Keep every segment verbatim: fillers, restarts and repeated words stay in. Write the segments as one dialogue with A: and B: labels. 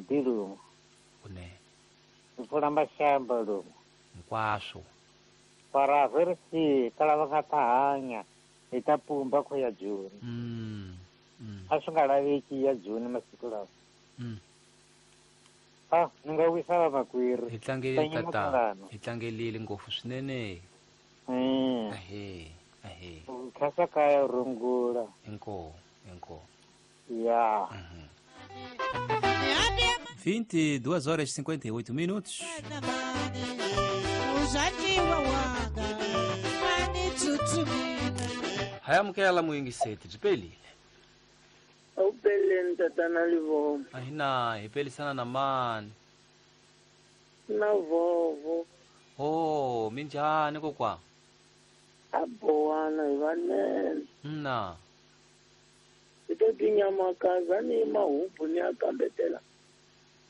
A: maḓi lumo.
B: Kunene.
A: Ri pfula mashamba lumo.
B: Hinkwaswo.
A: Para ri fika lava nga ta hanya hi ta pumba ku ya Joni.
B: Mm. Mm.
A: A swi nga laveki ya Joni masiku lawa.
B: Mm.
A: Ah, ni nga wisa vamakwerhu.
B: Hi tlangelile tatana. Hi tlangelile ngopfu swinene.
A: Mm.
B: Ahee, ahee.
A: Khasa kaya rungula.
B: Inkomu, inkomu.
A: Ya.
B: Uhum. vinte e duas horas e cinquenta e oito minutos. Hayamukela muyingiseti byi pelile.
C: Awupeleni tatana Livomo.
B: Ahina hi pelisana na mani?
C: Na vovo.
B: Oh, minjhani kokwa?
C: Abowana hi vanene.
B: Na.
C: Ito tinyamakaza ni mahubu ni ya kambetela.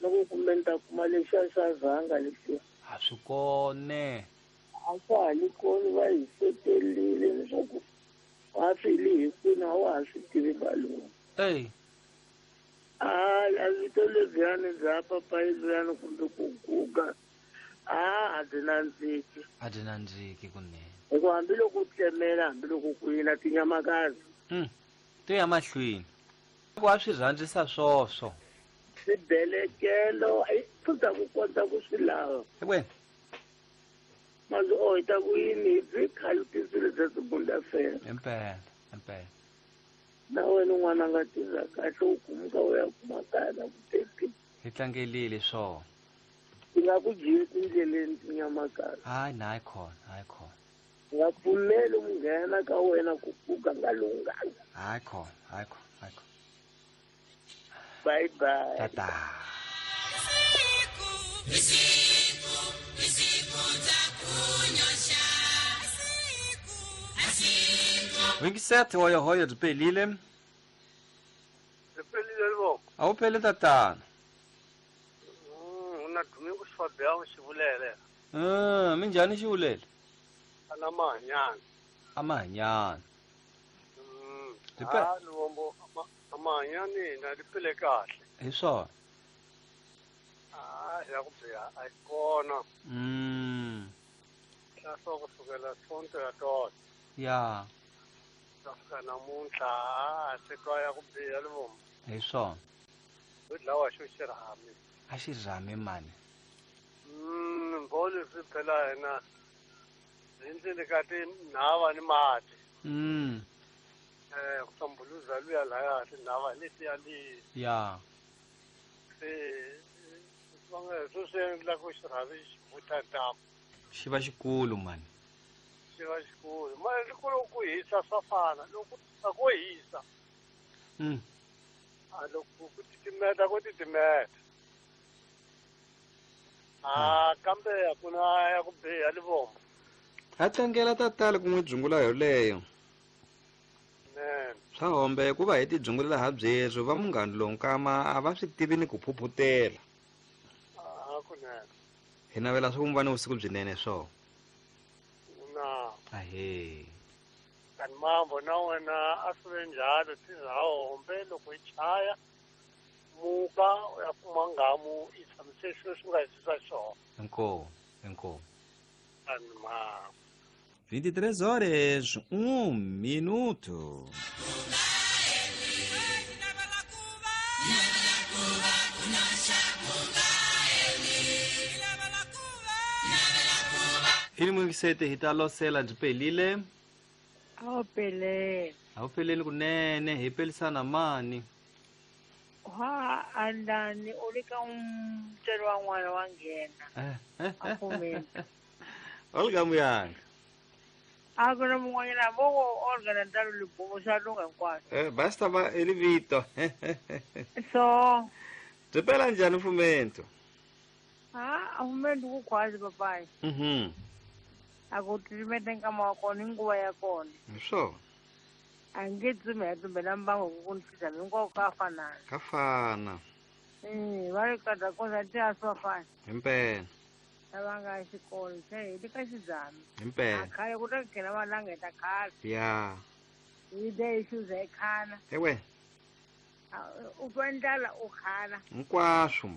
C: Loko kumbe ni ta kuma lexiya xa zanga lexiya.
B: A swi kone.
C: A swa ha li koni va hi setelile leswaku wa swi li hi kwini a wa ha swi tivi valungu.
B: Ey.
C: A a vito lebyani bya papayi luyani kumbe ku guga a a byi nandziki.
B: A byi nandziki kunene.
C: Hikuva hambiloko u tlemela hambiloko ku yina tinyamakazi.
B: Mm. To ya mahlweni. Ku a swi rhandzisa swoswo.
C: Swibelekelo i pfuta ku kota ku swi lava.
B: Wena.
C: Manzi o hi ta ku yini hi byi khalutisile bya sibunda fela.
B: Impela, impela.
C: Na wena n'wana nga tirha kahle u kumuka u ya kuma kaya na ku teki.
B: Hi tlangelile swona.
C: Ti nga ku jiki tindleleni tinyamakazi.
B: Hayi na hayi khona, hayi khona.
C: Nga pfumeli munghana ka wena ku pfuka nga lunghanga.
B: Hayi khona, hayi khona, hayi khona.
C: Bye bye.
B: Tata. vinte e sete hoya hoya byi pelile.
C: Byi pelile Livomo.
B: A wu peli tatana.
C: Mm, na Domingo Fabião Xivulele.
B: Mm, minjhani Xivulele?
C: Ana mahanyana.
B: A mahanyana.
C: Mm.
B: Byi pe-
C: Ah, Livomo amahanyani na li pele kahle.
B: Hi swona.
C: Ah, ya ku biha a yi kona.
B: Mm.
C: Hlaswa kusukela Sonto ya tolo.
B: Ya.
C: Fika namuntlha a se twa ya ku biha Livomo.
B: Hi swona.
C: Ho dlawa xo xirhami.
B: A xirhami mani.
C: Mm, mbho leswi phela hina hi ndleni ka tinhava ni mati.
B: Mm.
C: Eh, ku sambuluza luya laya tinhava letiya li.
B: Ya.
C: Se swi nga swo swi endla ku xirhami xi vutha ntamu.
B: Xi va xikulu mani.
C: Xi va xikulu. Mali loko ku hisa swa fana, loko a ko hisa.
B: Mm.
C: A loko ku titimeta ku titimeta. Ah, kambe a ku na ya ku biha Livomo.
D: Ha tlangela tatana ku n'wi dzungula yoleyo.
C: Nene.
D: Swa hombe ku va hi tidzungulela ha byeswo va munghana lonkama a va swi tivi ni ku phuphutela.
C: Ah, kunene.
D: Hi navela swa ku mi va ni vusiku byinene swona.
C: Na.
B: Ahee.
C: Kanti mambo na wena a swi ve njhalo tizahombe loko yi chaya muka u ya kuma nghamu yi tshamise swilo swi nga hisisa xiswona.
B: Inkomu, inkomu.
C: Kanti mambo.
D: vinte e três horas, um minuto.
B: Hili muyingiseti hi ta losela byi pelile.
E: A wu pelele.
B: A wu peleli kunene hi pelisana mani.
E: Wa andani u le ka mutswari wa n'wana wa nghena. A pfumeli.
D: Olga Muyanga.
E: A ku na mun'wanyana vo Olga na Ntalo Libomo swa lungha hinkwaswo.
D: Eh, basta va i vito.
E: So
D: Byi pela njhani mfumento?
E: Ah, a mfumento ku khwazi papayi.
D: Mhm.
E: A ku titimeta nkama wa kona hi nguva ya kona.
D: Hi swona.
E: A nge tsumi ya tumbela mbango ku ku ni fisa hinkwako ka fanana.
D: Ka fana.
E: Mm, va ri ka kona ti a swa fana.
D: Himpela.
E: Lava nga xikolo se hi le ka xidzami.
D: Himpela.
E: A khale ku ta nghena valanga hi ta khale.
D: Ya.
E: Hi de hi xuza hi khana.
D: Ewe.
E: U twa ndlala u khana.
D: Hinkwaswo.